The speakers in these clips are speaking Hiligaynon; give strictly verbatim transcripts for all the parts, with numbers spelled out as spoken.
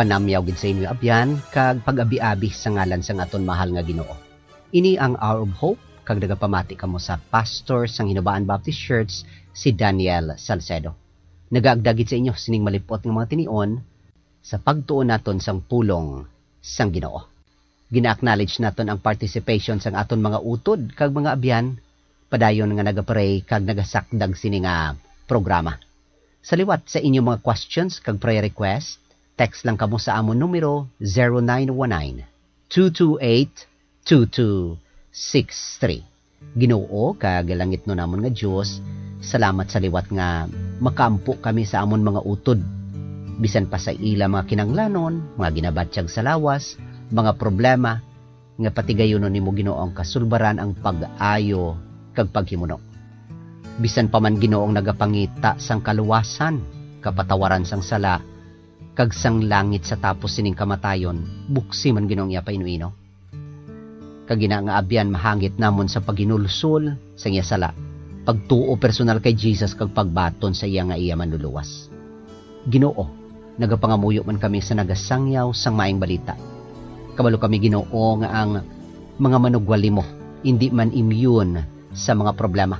Panamyaw gid sa inyo, abyan, kag pag-abi-abi sa ngalan sang aton mahal nga Ginoo. Ini ang Hour of Hope, kag nagapamati kamo sa pastor sang Hinubaan Baptist Church, si Daniel Salcedo. Nagaagda gid sa inyo sining malip-ot nga mga tinion sa pagtuon naton sang pulong sang Ginoo. Gina-acknowledge naton ang participation sang aton mga utod kag mga abyan padayon nga nagapray kag nagasakdag sini nga programa. Sa liwat sa inyo mga questions kag prayer request, text lang kamo sa amon numero, zero nine one nine, two two eight, two two six three. Ginoo kag langitnon namon nga Dios, salamat sa liwat nga makaampo kami sa amon mga utod, bisan pa sa ila mga kinahanglanon, mga ginabatyag sa lawas, mga problema, nga patigayunon nimo, Ginoo, ang kasulbaran, ang pag-ayo, kag paghimuno. Bisan pa man, Ginoo, ang nagapangita sang kaluwasan, kapatawaran sang sala, kag sang langit sa tapos sining kamatayon, buksi man, Ginoo, ang iya painuino. Kag ina nga abyan mahangit namon sa paghinulsol sang iya sala, pagtuo personal kay Jesus, kag pagbaton sa iya nga iya Manluluwas. Ginoo, nagapangamuyo man kami sa nagasangyaw sang Maayong Balita. Kabalo kami, Ginoo, nga ang mga manugwali mo indi man immune sa mga problema.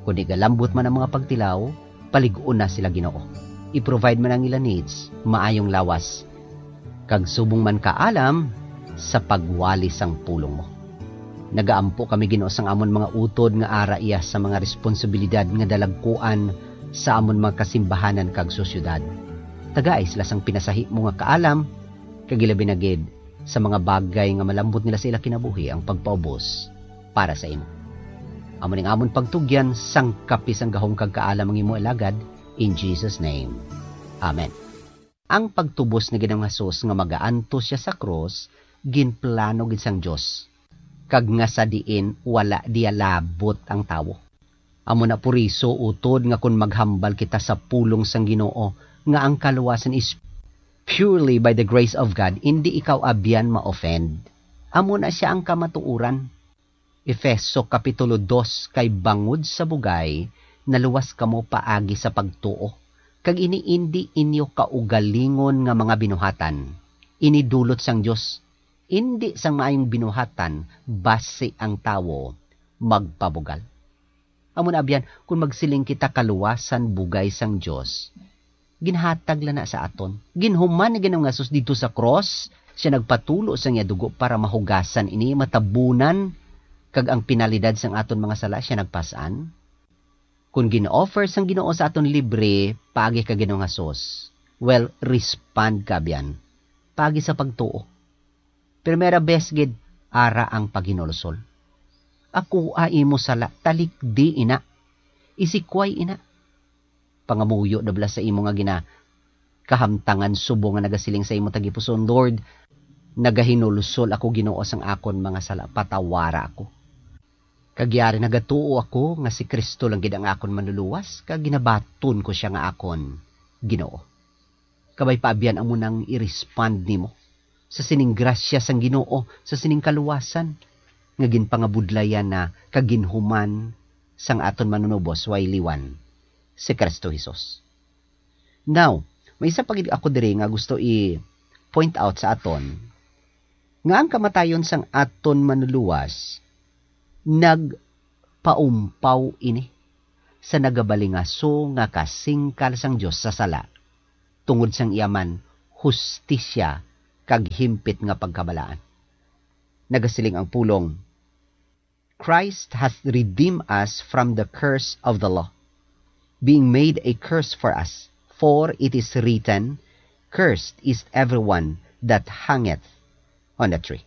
Kon igalambot man ang mga pagtilaw, palig-on na sila, Ginoo. I-provide man ang ila needs, maayong lawas, kag subong man kaalam sa pagwali sang pulong mo. Nagaampo kami, Ginoo, sang amon mga utod nga ara iya sa mga responsibilidad nga dalagkuan sa amon mga kasimbahanan kag sosyedad. Tagai sila sang pinasahimo nga kaalam, kag ilabi na gid sa mga bagay nga malambot nila sa ila kinabuhi ang pagpaubos para sa imo. Amo ning amon pagtugyan, sangkapi sang gahom kag kaalam ang imo alagad, in Jesus' name. Amen. Ang pagtubos ni Ginoong Jesus nga magaantos siya sa krus, ginplano gid sang Dios, kag nga sa diin wala diya labot ang tawo. Amo na puriso, utod nga kon maghambal kita sa pulong sang Ginoo nga ang kaluwasan is purely by the grace of God, indi ikaw abyan ma-offend. Amo na sia ang kamatuoran. Efeso Kapitulo dos, kay bangod sa bugay, naluwas kamo paagi sa pagtuo, kag ini indi inyo kaugalingon nga mga binuhatan. Ini dulot sang Dios, indi sang maayong binuhatan, basi ang tawo magpabugal. Amo na, abyan, kon magsiling kita kaluwasan bugay sang Dios, ginhatag lang na sa aton. Ginhuman ni Ginoong Jesus didto sa krus, siya nagpatulo sang iya dugo para mahugasan ini, matabunan, kag ang penalidad sang aton mga sala siya nagpas-an. Kon gin-offer sang Ginoo sa aton libre paagi kay Ginoong Jesus, well, respond ka, abyan, paagi sa pagtuo. Primera bes gid, ara ang paghinulsol. Akoa imo sala, talikdi ina. Isikway ina. Pangamuyo na bala sa imo nga ginakahamtangan, subong nga nagasiling sa imo tagipusoon, "Lord, nagahinulsol ako, Ginoo, sang akon mga sala, patawara ako. Kag yari nagatuo ako nga si Cristo lang gid ang akon Manluluwas, kag ginabaton ko sia nga akon Ginoo." Kabay pa, abyan, amo nang i-respond nimo sa sining grasya sang Ginoo, sa sining kaluwasan nga ginpangabudlayan na kag ginhuman sang aton Manunubos way liwan, si Cristo Jesus. Now, may isa pa gid ako diri nga gusto i-point out sa aton, nga ang kamatayon sang aton Manluluwas nagpaumpaw ini sa nagabalingaso nga kasingkal sang Dios sa sala, tungod sang iya man hustisya kag himpit nga pagkabalaan. Nagasiling ang pulong, "Christ hath redeemed us from the curse of the law, being made a curse for us. For it is written, 'Cursed is everyone that hangeth on a tree.'"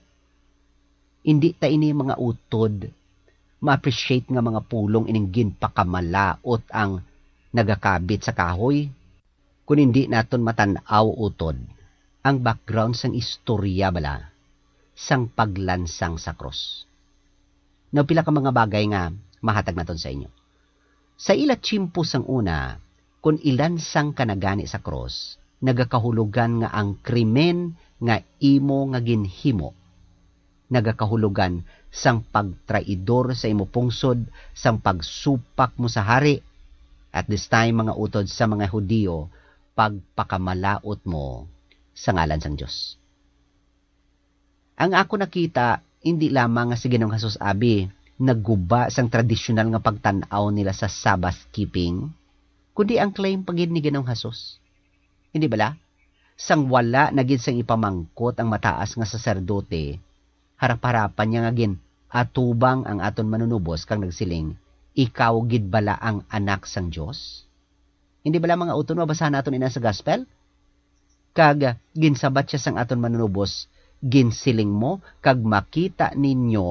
Indi ta ini, mga utod, ma-appreciate nga mga pulong ining ginpakamalaut ang nagakabit sa kahoy, kon indi naton matan-aw, utod, ang background sang istorya bala sang paglansang sa krus. Now, pila ka mga bagay nga mahatag naton sa inyo. Sa ila tiyempo sang una, kon ilansang ka na gani sa krus, nagakahulogan nga ang krimen nga imo nga ginhimo nagakahulogan sang pagtraidor sa imo pungsod, sang pagsupak mo sa hari, at this time, mga utod, sa mga Hudiyo, pagpakamalaut mo sa ngalan sang Dios. Ang ako nakita, hindi lamang nga si Ginoong Jesus abi nagguba sang tradisyonal nga pagtan-aw nila sa Sabbath keeping, kundi ang claim pa gid ni Ginoong Jesus. Hindi bala? Sang wala na gid sang ipamangkot ang mataas nga saserdote, harap-harapan niya nga gin-atubang ang aton Manunubos kag nagsiling, "Ikaw gid bala ang Anak sang Dios?" Hindi bala, mga utod, mabasahan naton ina sa gospel? Kag ginsabat siya sang aton Manunubos, "Ginsiling mo, kag makita ninyo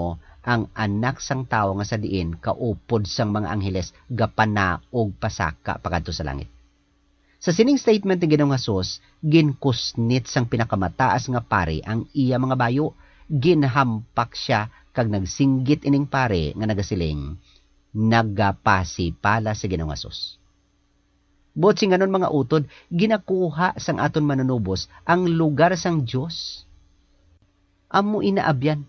ang Anak sang Tawo nga sa diin kaupod sang mga angheles gapanaog pasaka pakadto sa langit." Sa sining statement ni Ginoong Jesus, ginkusnit sang pinakamataas nga pari ang iya mga bayo. Ginhampak sia kag nagsinggit ining pari nga nagasiling, "Nagapasipala si Ginoong Jesus." Buot sing anon, mga utod, ginakuha sang aton Manunubos ang lugar sang Dios. Amo ina, abyan.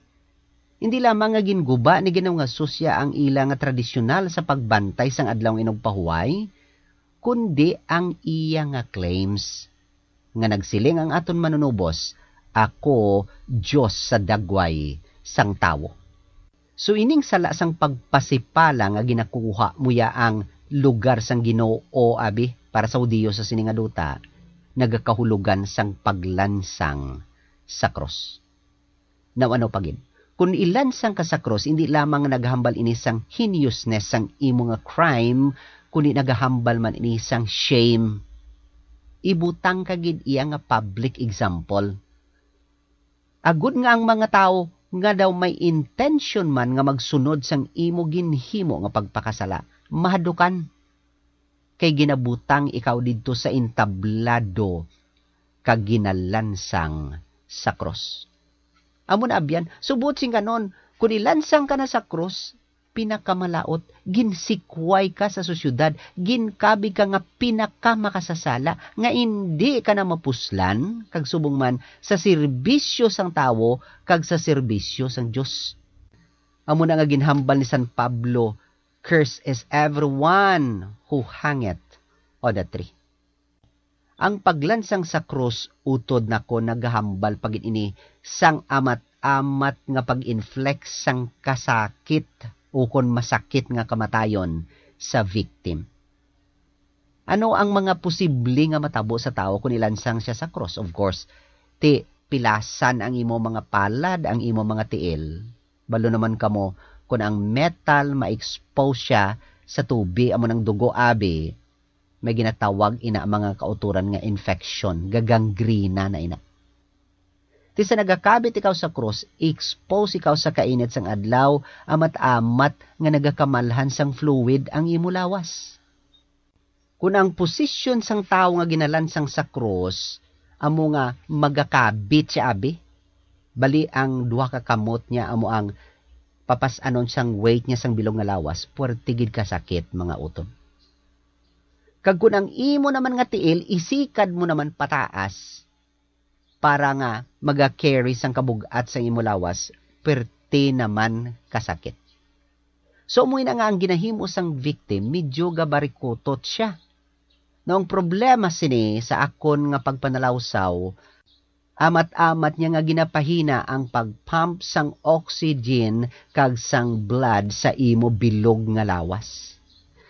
Hindi lamang nga ginguba ni Ginoong Jesus ya ang ila nga tradisyonal sa pagbantay sang Adlaw nga Inugpahuway, kundi ang iya nga claims nga nagsiling ang aton Manunubos, "Ako Dios sa dagway sang tawo." So, ining sala sang pagpasipala nga ginakuha mo ya ang lugar sang Ginoo, abi, para sa Hudiyo sa sini nga duta, nagakahulogan sang paglansang sa krus. Now, ano pa gid? Kun ilansang ka sa krus, hindi lamang nagahambal ini sang heinousness sang imo nga crime, kundi nagahambal man ini sang shame. Ibutang ka gid iya nga public example, agud nga ang mga tawo nga daw may intensyon man nga magsunod sang imo ginhimo nga pagpakasala, mahadukan, kay ginabutang ikaw didto sa entablado kag ginalansang sa krus. Amo na, abyan, subot sing kanon, kun ilansang ka na sa krus, pinakamalaut, ginsikway ka sa sosyedad, ginkabig ka nga pinakamakasasala, nga indi ka na mapuslan, kag subong man sa serbisyo sang tawo kag sa serbisyo sang Dios. Amo na nga ginhambal ni San Pablo, "Cursed is everyone who hangeth on a tree." Ang paglansang sa krus, utod nako, nagahambal pa gid ini sang amat-amat nga pag-inflict sang kasakit ukon masakit nga kamatayon sa victim. Ano ang mga posible nga matabo sa tawo kon ilansang sia sa krus? Of course, ti pilasan ang imo mga palad, ang imo mga tiil. Balo naman kamo, kon ang metal ma-expose sia sa tubi, amo nang dugo, abi, may ginatawag ina mga kautoran nga infection, gagangrena na ina. Ti sa nagakabit ikaw sa krus, expose ikaw sa kainit sang adlaw, amat-amat nga nagakamalhan sang fluid ang imo lawas. Kun ang posisyon sang tawo nga ginalansang sa krus amo nga magakabit sia, abi, bali ang duha ka kamot niya amo ang papas-anon sang weight niya sang bilog nga lawas, puwerte gid ka sakit, mga utod. Kag kun ang imo naman nga tiil isikad mo naman pataas, para nga maga-carry sang kabug-at sang imo lawas, perti naman kasakit. So, amo ina nga ang ginahimo sang victim, medyo gabarikutot sia. Now, ang problema sini sa akon nga pagpanalawsaw, amat-amat niya nga ginapahina ang pag-pump sang oxygen kag sang blood sa imo bilog nga lawas.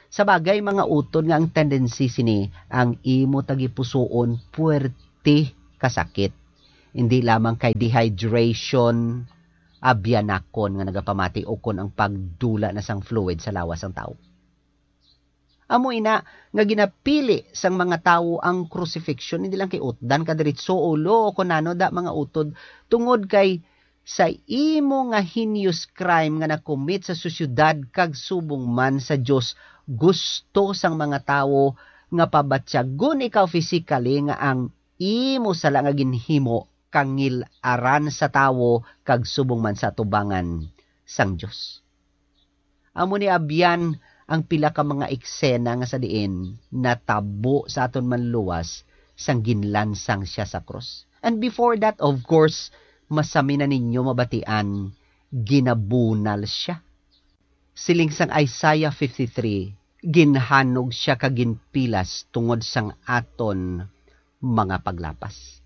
Sa bagay, mga utod, nga ang tendency sini ang imo tagipusoon puwerte kasakit, hindi lamang kay dehydration, abyanakon nga nagapamati, ukon ang pagdula na sang fluid sa lawas sang tawo. Amo ina nga ginapili sang mga tawo ang crucifixion, hindi lang kay utdan ka diretso ulo o kon ano da, mga utod, tungod kay sa imo nga heinous crime nga na-commit sa sosyedad kag subong man sa Dios, gusto sang mga tawo nga pabatyagon ikaw physically nga ang imo sala nga ginhimo kangil-aran sa tawo kag subong man sa atubangan sang Dios. Amo ni abyan ang pila ka mga eksena nga sa diin natabo sa aton Manluwas sang ginlansang sia sa krus. And before that, of course, masami na ninyo mabatian, ginabunal sia. Siling sang Isaiah fifty-three, "Ginhanog sia kag ginpilas tungod sang aton mga paglapas."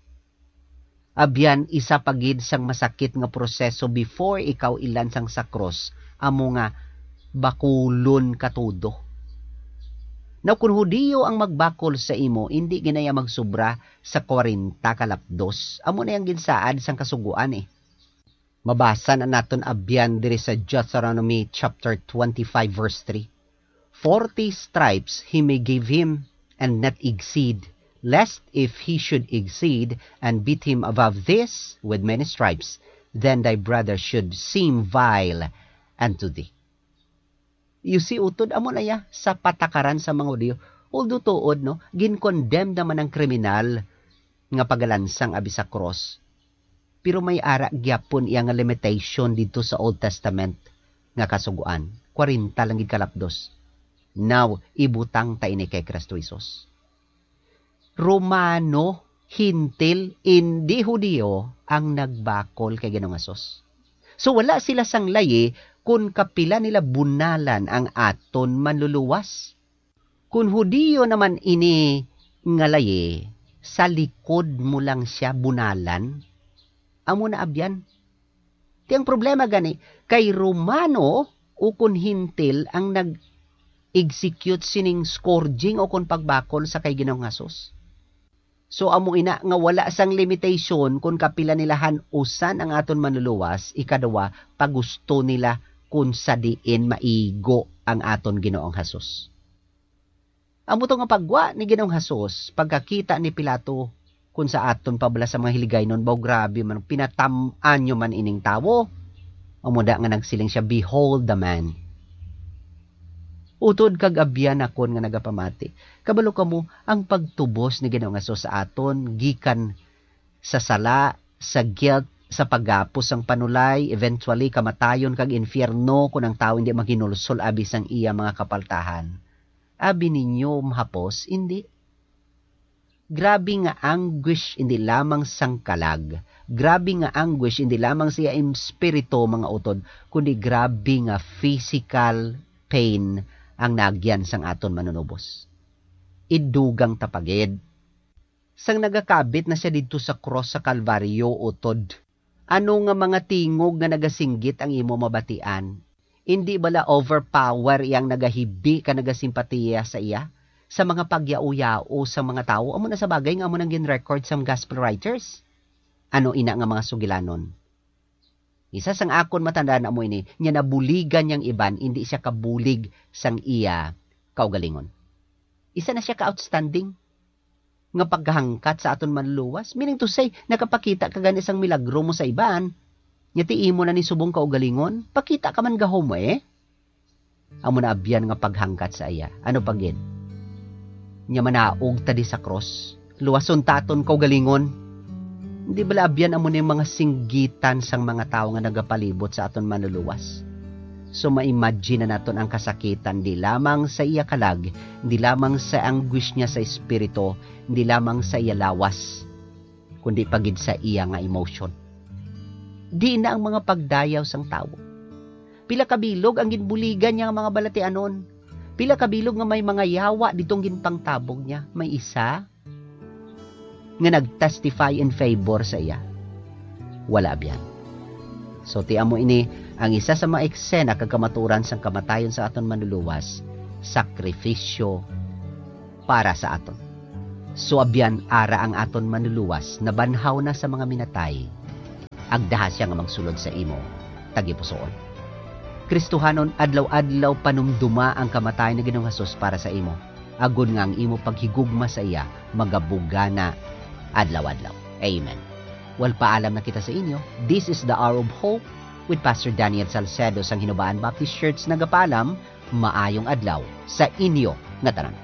Abyan, isa pa gid sang masakit nga proseso before ikaw ilansang sa krus amo nga bakulon ka todo. Now, kun Hudiyo ang magbakol sa imo, indi ginaya magsubra sa kwarenta ka lapdos. Amo na yang ginsaad sang Kasugoan, eh. Mabasa na naton abyan diri sa Deuteronomy chapter twenty-five, verse three. Forty stripes he may give him, and not exceed, lest if he should exceed and beat him above this with many stripes, then thy brother should seem vile unto thee. You see, utod amo na ya sa patakaran sa mga Hudiyo. Although tuod, no, gin-condemn naman ang kriminal nga pagalansang abi sa cross. Pero may ara gyapon iya nga limitation didto sa Old Testament nga Kasugoan. Kwarenta lang gid ka lapdos. Now, ibutang ta ini kay Cristo Jesus. Romano, Hentil, indi Hudiyo ang nagbakol kay Ginoong Hesus. So, wala sila sang layi kun kapila nila bunalan ang aton Manluluwas. Kun Hudiyo naman ini nga layi, sa likod mo lang sia bunalan. Amo na abyan. Ti ang problema gani, kay Romano ukon Hentil ang nag-execute sining scourging ukon pagbakol sa kay Ginoong Hesus. So, amo ina nga wala sang limitation kon kapila nila han-usan ang aton Manluluwas, ikaduha, pagusto nila kon sa diin maigo ang aton Ginoong Hesus. Amo to nga paggwa ni Ginoong Hesus, pagkakita ni Pilato kon sa aton pa bala sa mga Hiligaynon, baw grabe man, pinatam-an nyo man ining tawo. Amo da nga nagsiling siya, "Behold the man." Utod kag abyan akon nga nagapamati. Kabalo kamo, ang pagtubos ni Ginoong Hesus sa aton gikan sa sala, sa guilt, sa paghapos sang panulay, eventually kamatayon kag infierno kon ang tawo indi maghinulsol abi sang iya mga kapaltahan. Abi ninyo mahapos? Indi. Grabe nga anguish, indi lamang sang kalag. Grabe nga anguish, indi lamang sa iya espiritu, mga utod, kundi grabe nga physical pain ang naagyan sang aton Manunubos. Idugang ta pa gid. Sang nagakabit na sia didto sa krus sa Kalbaryo, utod, ano nga mga tingog nga nagasinggit ang imo mabatian? Indi bala overpower iyang nagahibi ka nagasimpatiya sa iya, sa mga pagyao-yao sa mga tawo? Amo na sa bagay nga amo nang gin-record sang gospel writers. Ano ina nga mga sugilanon? Isa sang akon matandaan amo ini, nga nabuligan niyang iban, indi siya kabulig sang iya kaugalingon. Isa na siya ka outstanding nga paghangkat sa aton Manluluwas. Meaning to say, nakapakita ka gani sang milagro mo sa iban, nya ti imo na ni subong kaugalingon, pakita ka man gahom, eh. Amo na abyan nga paghangkat sa iya. Ano pa gid? Nya manaog ta di sa krus. Luwason ta aton kaugalingon. Hindi bala abyan amo ni mga singgitan sang mga tawo nga nagapalibot sa aton Manluluwas? So, ma-imagine na naton ang kasakitan, di lamang sa iya kalag, di lamang sa anguish niya sa espiritu, di lamang sa iya lawas, kundi pa gid sa iya nga emotion. Di na ang mga pagdayaw sang tawo. Pila ka bilog ang ginbuligan niya nga mga balatianon. Pila ka bilog nga may mga yawa ditong ginpangtabog niya. May isa nga nag-testify in favor sa iya? Wala byan. So, ti amo ini ang isa sa mga eksena kag kamatuoran sang kamatayon sa aton Manluluwas, sakrifisyo para sa aton. So, abyan, ara ang aton Manluluwas nabanhaw na sa mga minatay. Agdaha sia nga magsulod sa imo tagipusoon. Kristohanon, adlaw-adlaw panumduma ang kamatayon ni Ginoong Hesus para sa imo, agod nga ang imo paghigugma sa iya magabugana adlaw-adlaw. Amen. Well, paalam na kita sa inyo. This is the Hour of Hope with Pastor Daniel Salcedo sang Hinubaan Baptist Church. Nagapaalam, maayong adlaw sa inyo nga tanan.